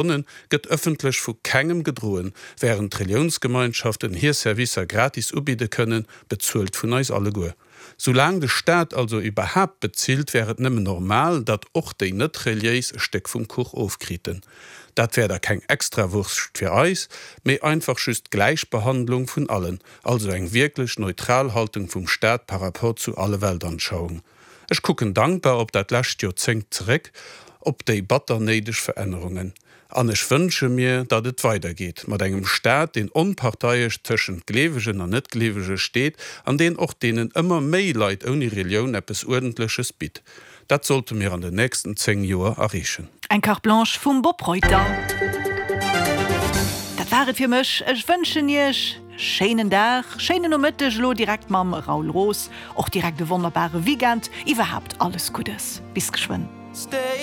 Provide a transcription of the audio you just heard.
Stonne gëtt ëffentlech vu kengem gedroen, wärend d'Reliounsgemeinschaften hir Servicer gratis ubidde kënnen, bezuelt vun eis alleguer. Soulaang de Staat also iwwerhaapt bezilt, wär et nëmmen normal, datt och déi net-reliéis e Stéck vum Kuch ofkriten. Dat wär da keng Extrawurscht fir eis, mee einfach just d'Gläichbehandlung vun allen, also eng wierklech neutral Haltung vum Staat par rapport zu alle Weltanschauungen. Ech kucken dankbar op dat lescht Joerzéngt zeréck, op déi batter néideg Verännerungen. An ech wënsche mir, datt et weidergeet mat engem Staat, deen onparteiesch tëschent Gleewegen an Netgleewege steet an deen och deenen ëmmer méi Leit ouni Relioun eppes Uerdentleches bitt. Dat sollte mir an den nächsten 10 Joer erreechen. Eng Carte Blanche vum Bob Reuter. Dat war et fir mech. Ech wënschen Iech. Schéinen Dag, schéinen Nomëtteg elo direkt mam Raoul Roos, och direkt e wonnerbare Weekend, iwwerhaapt alles Guddes. Bis geschwënn.